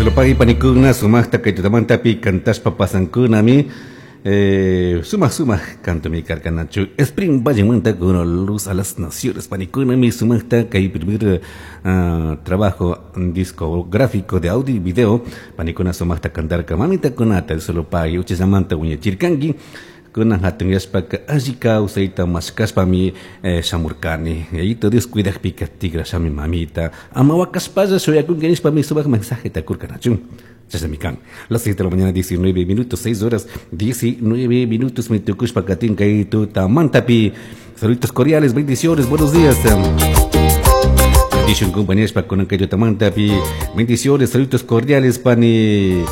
Dios panikuna sumaqta kay tutamantapi cantashpa pasankunami. Sumaq sumaq cantomi karkanachu. Spring Vallemanta con Luz a las Naciones panikunami sumaqta kay primer trabajo discográfico de audio y video panikuna sumaqta cantarka mamitakunata Dios lo pague uchillamanta wiñachirkanki. Kunan hatunyashpaka alli kawsayta mashkashpami shamurkani. Yayito Dios cuidakpika tigrashami, mamita. Ama wakashpalla shuyakunki nishpami sumaq mensajeta kurkanachu. Chashnami kan. Las 6 de la mañana, 19 minutos, 6 horas 19 minutos, me tukushpa katin kay tutamantapi. Saluditos cordiales, bendiciones, buenos días. Bendición compañeros pa kunan kay tutamantapi. Bendiciones, saluditos cordiales, pani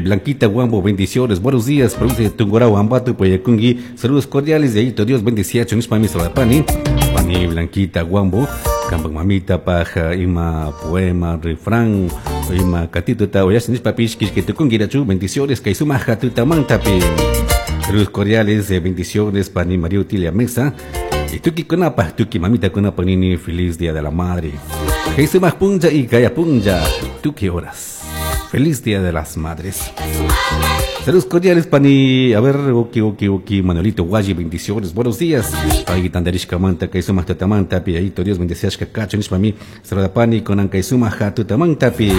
Blanquita Guambo, bendiciones, buenos días, provincia de Tungurahua, Ambato, Poyacungui, saludos cordiales de ahí, Dios bendecía, nishpami pani, pani Blanquita Guambo, kampak mamita paja, ima poema, refrán, ima katituta, oyas nishpapish, kishkitukungi rachu, bendiciones, kay sumaja tutamantapi. Saludos cordiales, bendiciones, pani María Utilia Mesa, y tuki kunapa, tuki mamita kunapa nini, feliz día de la madre. Kay sumaj punlla y kaya punlla, tuki horas. Feliz Día de las Madres. Saludos cordiales, pani. A ver, oki, Manuelito Guayi, bendiciones. Buenos días. Pay tandarishka manta, kay sumaq tutamanta, pi, ayito Dios bendeciashka kachu, nishpami. Saluda pani, kunan kay sumaq tutamantapi.